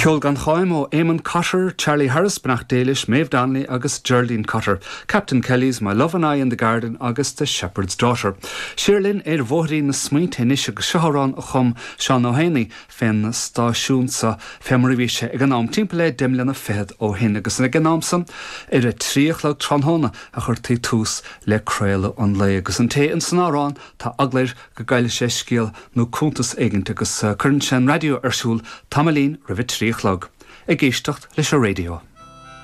Ceol gan cháim ó Eamon Cotter, Charlie Harris, beannacht Dé leis, Maeve Donnelly agus Geraldine Cotter, Captain Kelly's, My Love and I in the Garden agus The Shepherd's Daughter. Siar linn ar bhóithrín na smaointe anois agus seo amhrán a chum Seán Ó hÉanaí fén stáisiún so fé mar a bhí sé ag an am, timpeall le deich mbliana fichead ó shin agus ag an am san ar a trí a chlog tráthnóna a chuirtí tús le craoladh an lae agus an té ins an amhrán tá eagla air go gcaillfidh sé scéal nó cuntas éigint agus cuireann sé an raidió ar siúl tamaillín roimh a trí a chlog. Ag éisteacht leis an raidió.